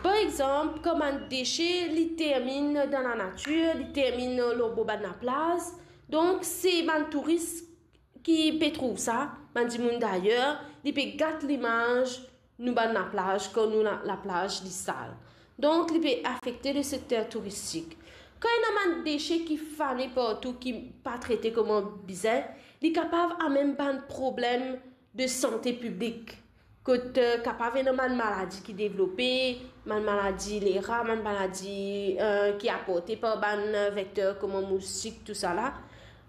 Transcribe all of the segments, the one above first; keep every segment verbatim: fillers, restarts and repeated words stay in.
Par exanp, kan bann dese li terminn dan lanatir, li terminn lor bor bann laplaz, donk se bann touris ki pe trouv sa, bann dimoun dayer, li pe gat limaz nou bann laplaz, kan nou la-, laplaz li sal. Donk, li pe afekte le sekter touristik. Kan ena bann dese ki fane partou, ki pa trete kouma bizin, li kapav amenn bann problem de sante piblik. Kot, eh, kapav ena bann maladi ki devlope, bann maladi lera, bann maladi, eh, ki aporte par bann, eh, vekter kouma moustik, tousala.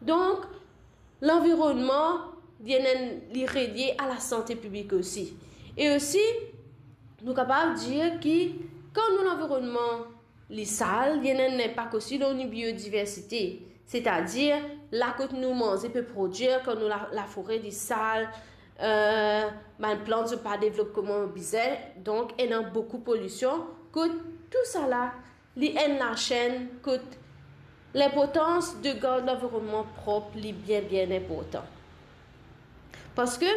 Donk, lanvironnman, li ena, li relie a lasante piblik osi. E osi, nou kapav dir ki kan nou lanvironnman li sal, li ena enn linpak osi lor nou biodiversite. Setadir, la kot nou manze pe prodwir, kan nou la-, lafore li sal, eh, bann plant zot pa devlop kouma bizin, donk ena boukou polision, kot tousala, li enn lasenn kot linportans de gard lanvironnman prop, li bien, bien inportan. Parski,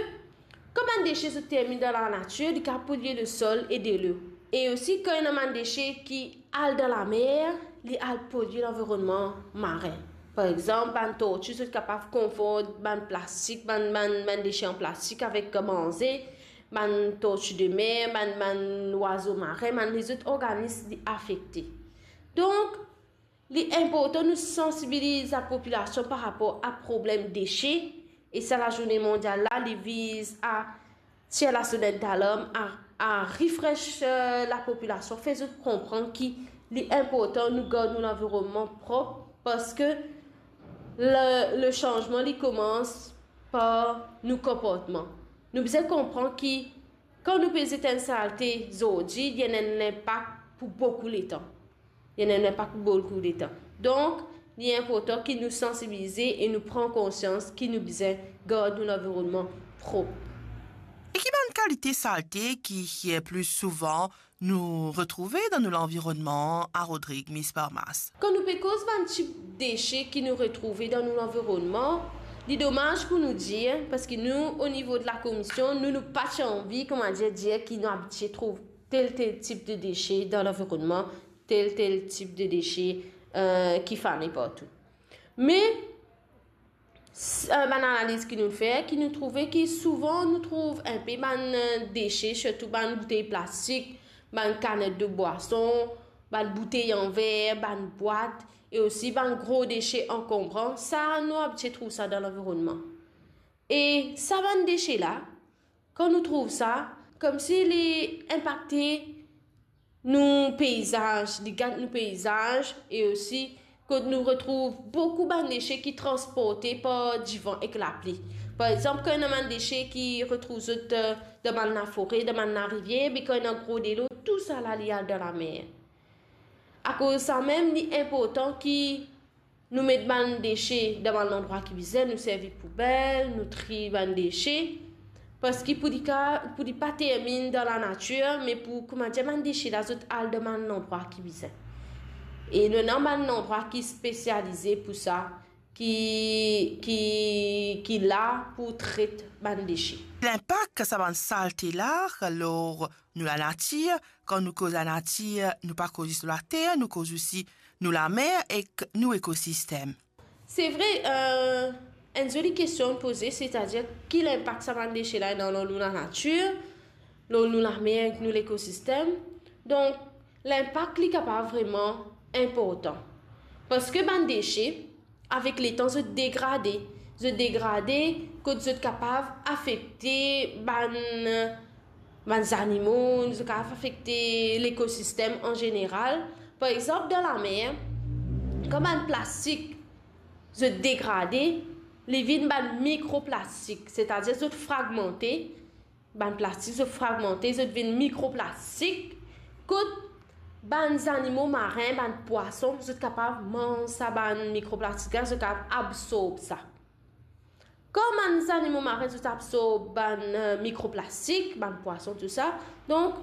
kan bann dese zot terminn dan lanatir, li kapav polye lesol e delo. E osi, kan ena bann dese ki al dan lamer, li al polye lanvironnman marin. Par exanp, bann torti, zot kapav konfonn bann plastik, bann, bann, bann dese an plastik avek manze, bann torti de mer, bann, bann zwazo marin, bann lezot organis, li afekte. Donk, li inportan nou sansibiliz lapopilasion par rapor a problem dese, e sa lazourne mondial la, li viz a tir lasonet dalarm, a, a refresh, eh, lapopilasion, fer zot konpran ki li inportan nou gard nou lanvironnman prop, parski le, le sanzman, li koumans par nou konportman. Nou bizin konpran ki kan nou pe zet enn salte zordi, li ena enn linpak pou boukou letan. Li ena enn linpak pou boukou letan. Donk, li inportan ki nou sansibilize e nou pran konsians ki nou bizin gard nou lanvironnman prop. E ki bann kalite salte ki, eh, pli souvan nou retrouve dan nou lanvironnman a Rodrig, Miss Parmas? Kan nou pe koz bann tip dese ki nou retrouve dan nou lanvironnman, li domaz pou nou dir, parski nou, o nivo de lakomision, nou, nou pa ti anvi, koumadir, dir ki nou abitie trouv tel, tel tip de dese dan lanvironnman, tel, tel tip de dese, eh, ki fane partou. Me, s-, eh, bann analiz ki nou fer, ki nou trouve ki souvan nou trouv inpe bann, eh, dese, sirtou bann boutey plastik, bann kanet de bwason, bann boutey an ver, bann bwat, e osi bann gro dese ankonbran, sa nou abitie trouv sa dan lanvironnman. E sa bann dese la, kan nou trouv sa, koumsi li inpakte nou peizaz, li gat nou peizaz, e osi kot nou retrouv boukou bann dese ki transporte par divan ek lapli. Par exanp, kan ena bann dese ki retrouv zot, eh, dan bann lafore, dan bann larivier, be kan ena gro delo, tousala li al dan lamer. Akoz samem, li inportan ki nou met bann dese dan bann landrwa ki bizin, nou servi poubel, nou tri bann dese, parski pou li ka, pou li pa terminn dan lanatir, me pou, koumadir, bann dese la, zot al dan bann landrwa ki bizin. E nou ena bann landrwa ki spesialize pou sa, ki, ki, ki la pou tret bann dese. Linpak sa bann salte la lor nou lanatir, kan nou koz lanatir, nou pa koz zis later, nou koz osi nou lamer ek nou ekosistem. Se vre, eh, enn zoli kestion poze, setadir ki linpak sa bann dese la ena lor nou lanatir, lor nou lamer ek nou lekosistem. Donk, linpak li kapav vreman inportan. Parski bann dese, avek letan, zot degrade. Zot degrade kot zot kapav afekte bann, bann zanimo, zot kapav afekte lekosistem an zeneral. Par exanp, dan lamer, kan bann plastik zot degrade, li vinn bann mikroplastik, setadir zot fragmante, bann plastik zot fragmante, zot vinn mikroplastik, kot bann zanimo marin, bann pwason, zot kapav manz sa bann mikroplastik la, zot kapav absorb sa. Kan bann zanimo marin zot absorb bann, eh, mikroplastik, bann pwason, tousala, donk,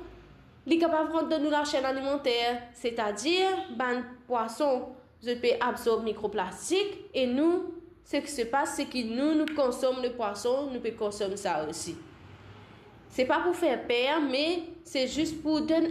li kapav rant dan nou lasenn alimanter, setadir bann pwason, zot pe absorb mikroplastik, e nou, seki se pas, seki nou, nou konsom lepwason, nou pe konsom sa osi. Se pa pou fer per, me se zis pou donn